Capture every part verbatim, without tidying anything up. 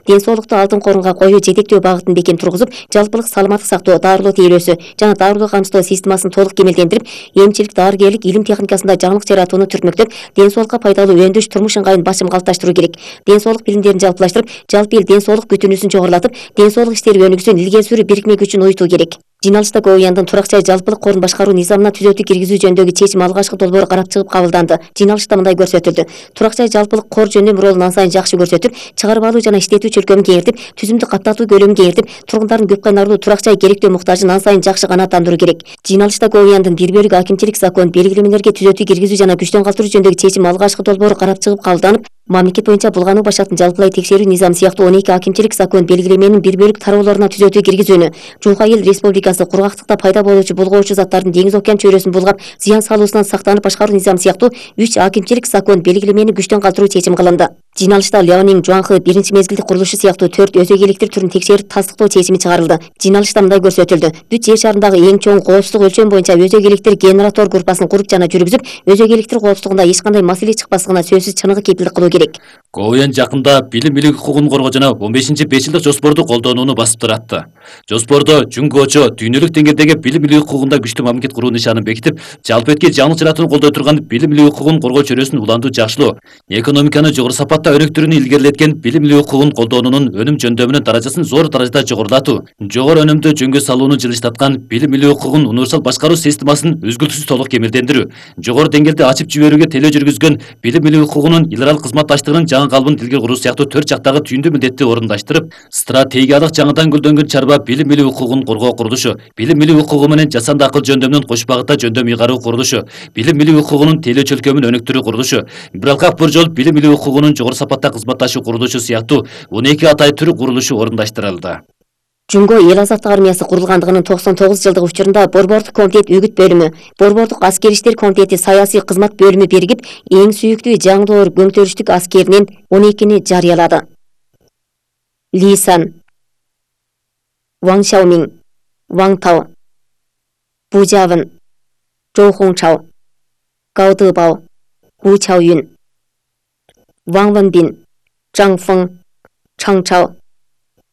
Ден соолукту алтын корунга коюу жетектөө багытын бекем тургузуп, жалпылык саламаттык сактоо, дарылоо тейлөөсү жана дарылоо камсыздоо системасын толук кемелдендирип, эмчилик, дарыгерлик, илим техникасында жаңылык жаратууну түртмөктөп, ден соолукка пайдалуу өндөш турмуш ыңгайын басым калыпташтыруу керек. Ден соолук билимдерин жалпылаштырып, жалпы эл ден соолук бүтүнүүсүн жогорулатып, ден соолук иштери өнүгүүсүн илгери сүрүү бирикме күчүн уюутуу керек. Жыйналышта КООЯндын турак жай жалпылык корун башкаруу низамына түзөтүү киргизүү жөнүндөгү чечим алгачкы долбоор карап чыгып кабылданды. Жыйналышта мындай көрсөтүлдү. Турак жай жалпылык кор жөндөм ролун ан сайын жакшы көрсөтүп, чыгарып алуу жана иштетүү чөлкөмүн кеңейтип, түзүмдү каттатуу көлөмүн кеңейтип, тургундардын көп кайнарлуу турак жай керектөө муктажын ан сайын жакшы канааттандыруу керек. Жыйналышта КООЯндын бир бөлүк акимчилик закон белгилемелерге түзөтүү киргизүү жана күчтөн калтыруу жөнүндөгү чечим алгачкы долбоор карап чыгып кабылданып, мамлекет боюнча булгануу башактын жалпылай текшерүү низамы сыяктуу он эки акимчилик закон белгилеменин бир бөлүк тароолоруна түзөтүү киргизүүнү, Жука Эл Республикасы кургактыкта пайда болуучу булгоочу заттардын деңиз океан чөйрөсүн булгап, зыян салуусунан сактанып башкаруу низамы сыяктуу үч акимчилик закон белгилемени күчтөн калтыруу чечим кылынды. Жыйналышта Леонин Жуанхы биринчи мезгилдик курулушу сыяктуу төрт өзөгейликтер түрүн текшерип тастыктоо чечими чыгарылды. Жыйналышта мындай көрсөтүлдү. Бүт жер шарындагы эң чоң коопсуздук өлчөм боюнча өзөгейликтер генератор группасын куруп жана жүргүзүп, өзөгейликтер коопсуздугунда эч кандай маселе чыкпаслыгына сөзсүз чыныгы кепилдик кылуу керек. КООЯн жакында билим бийлик укугун коргоо жана он бешинчи беш жылдык жоспорду колдонууну басып туратты. Жоспордо жөнгөчө дүйнөлүк деңгээлдеги билим бийлик укугунда күчтүү мамлекет куруу нишанын бекитип, жалпы этки жаңылык жаратууну колдой турган билим бийлик укугун коргоо чөйрөсүн улантуу жакшылоо, экономиканы жогору сапатта өнүктүрүүнү илгерилеткен билим бийлик укугун колдонуунун өнүм жөндөмүнүн даражасын зор даражада жогорулатуу, жогору өнүмдүү жөнгө салууну жылыштаткан билим бийлик укугун универсал башкаруу системасын үзгүлтүксүз толук кемелдендирүү, жогору деңгээлде ачып жиберүүгө телөө жүргүзгөн билим бийлик укугунун эл аралык кызматташтыгынын жаңы калыбын тилге куруу сыяктуу төрт жактагы түйүндүү милдетти орундаштырып, стратегиялык жаңыдан гүлдөнгөн чарба билим бийлик укугун коргоо курулушу, билим бийлик укугу менен жасанды акыл жөндөмүнүн кош багытта жөндөм ыйгаруу курулушу, билим бийлик укугунун тейлөө чөлкөмүн өнүктүрүү курулушу, бир алкак бир жол билим бийлик укугунун жогору сапатта кызматташуу курулушу сыяктуу он эки атай түрү курулушу орундаштырылды. Жөнгө эл азаттык армиясы курулгандыгынын токсон тогуз жылдык учурунда Борбордук комитет үгүт бөлүмү, Борбордук аскер иштер комитети саясий кызмат бөлүмү биригип, эң сүйүктүү жаңдоор көңтөрүштүк аскеринин он экини жарыялады. Ли Сан, Ван Шаомин, Ван Тао, Бу Жавын, Жоу Хончао, Гао Дебао, Гу Чаоюн, Ван Вэнбин, Чжан Фeng, Чжан Чао,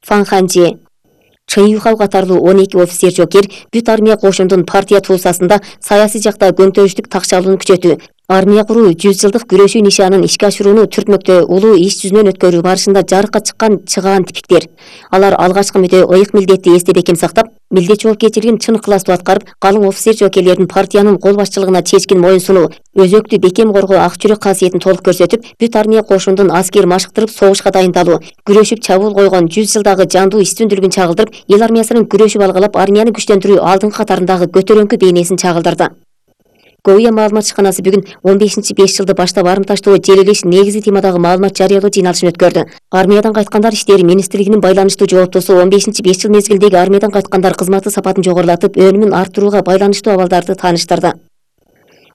Фан Ханже, Чын Юхау катарлуу он эки офицер жокер бүт армия кошундун партия туусасында саясий жакта көңтөрүштүк такчалууну күчөтүү, армия куруу жүз жылдык күрөшүү нишанын ишке ашырууну түртмөктө улуу иш жүзүнөн өткөрүү барышында жарыкка чыккан чыгаан типиктер. Алар алгачкы мүдө ыйык милдетти эсте бекем сактап, милдет жоопкерчилигин чын ыкыластуу аткарып, калың офицер жокерлердин партиянын кол башчылыгына чечкин моюн сунуу, өзөктү бекем коргоо ак жүрөк касиетин толук көрсөтүп, бүт армия кошундун аскер машыктырып согушка дайындалуу, күрөшүп чабуул койгон жүз жылдагы жандуу үстүндүүлүгүн чагылдырып, эл армиясынын күрөшүп алгалап армияны күчтөндүрүү алдыңкы катарындагы көтөрөңкү бейнесин чагылдырды. КООЯ маалымат ишканасы бүгүн он бешинчи беш жылды баштап арымташтоо желелеш негизги темадагы маалымат жарыялоо жыйналышын өткөрдү. Армиядан кайткандар иштери министрлигинин байланыштуу жооптосу он бешинчи беш жыл мезгилдеги армиядан кайткандар кызматы сапатын жогорулатып, өнүмүн арттырууга байланыштуу абалдарды тааныштырды.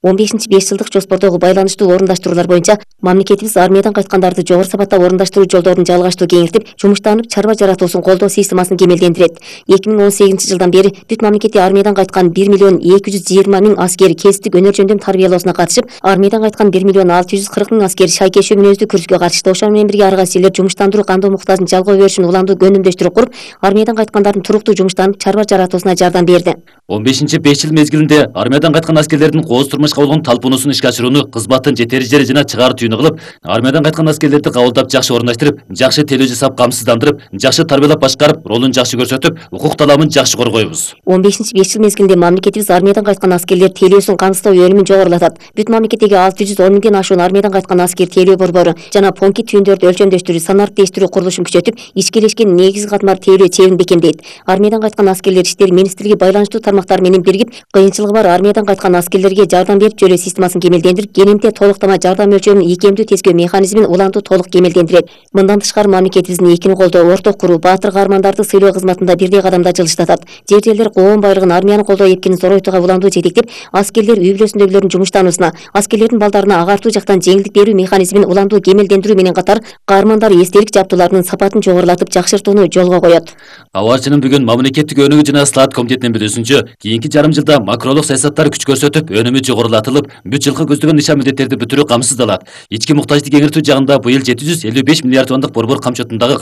он бешинчи беш жылдык жоспордогу байланыштуу орундаштыруулар боюнча мамлекетибиз армиядан кайткандарды жогору сапатта орундаштыруу жолдорун жалгаштуу кеңейтип, жумуштанып чарба жаратуусун колдоо системасын кемелдендирет. эки миң он сегизинчи жылдан бери бүт мамлекетте армиядан кайткан бир миллион эки жүз жыйырма миң аскер кесиптик өнөр жөндөм тарбиялоосуна катышып, армиядан кайткан бир миллион алты жүз кырк миң аскер шайкешүү мүнөздүү күрөшкө катышты. Ошону менен бирге ар кайсы элдер жумуштандыруу кандоо муктажын жалгоо беришин уламдуу көнүмдөштүрүп куруп, армиядан кайткандардын туруктуу жумуштанып чарба жаратуусуна жардам берди. он бешинчи беш жыл мезгилинде армиядан кайткан аскерлердин кооз турмушка болгон талпуунусун ишке ашырууну кызматтын жетери жана чыгаар түйүнү кылып, армиядан кайткан аскерлерди кабылдап жакшы орундаштырып, жакшы телөө жасап камсыздандырып, жакшы тарбиялап башкарып, ролун жакшы көрсөтүп, укук таламын жакшы коргойбуз. он бешинчи беш жыл мезгилинде мамлекетибиз армиядан кайткан аскерлер тейлөөсүн камсыздоо өнүмүн жогорулатат. Бүт мамлекеттеги алты жүз он миңден ашуун армиядан кайткан аскер тейлөө борбору жана понки түйүндөрдү өлчөмдөштүрүү, санариптештирүү курулушун күчөтүп, ишкелешкен негизги катмар тейлөө чебин бекемдейт. Армиядан кайткан аскерлер иштери министрлиги байланыштуу тармактар менен биригип, кыйынчылыгы бар армиядан кайткан аскерлерге жардам берип жөлөө системасын кемелдендирип, кененте толуктама жардам өлчөмүн ийкемдүү тескөө механизмин улантуу толук кемелдендирет. Мындан тышкары мамлекетибиздин экини колдоо, орток куруу, баатыр каармандарды сыйлоо кызматында бирдей кадамда жылыштатат. Жер жерлер коом байлыгын, армияны колдоо эпкинин зоройтууга уламдуу жетектеп, аскерлер үй бүлөсүндөгүлөрдүн жумуштануусуна, аскерлердин балдарына агартуу жактан жеңилдик берүү механизмин уламдуу кемелдендирүү менен катар, каармандар эстелик жабдууларынын сапатын жогорулатып жакшыртууну жолго коет. Абарчынын бүгүн мамлекеттик өнүгүү жана слаат комитетинин билүүсүнчө, кийинки жарым жылда макролук саясаттар күч көрсөтүп, өнүмү жогорулатылып, бүт жылкы көздөгөн нишан милдеттерди бүтүрүү камсыздалат. Ички муктаждык кеңиртүү жагында быйыл жети жүз элүү беш миллиард сомдук борбор камчотундагы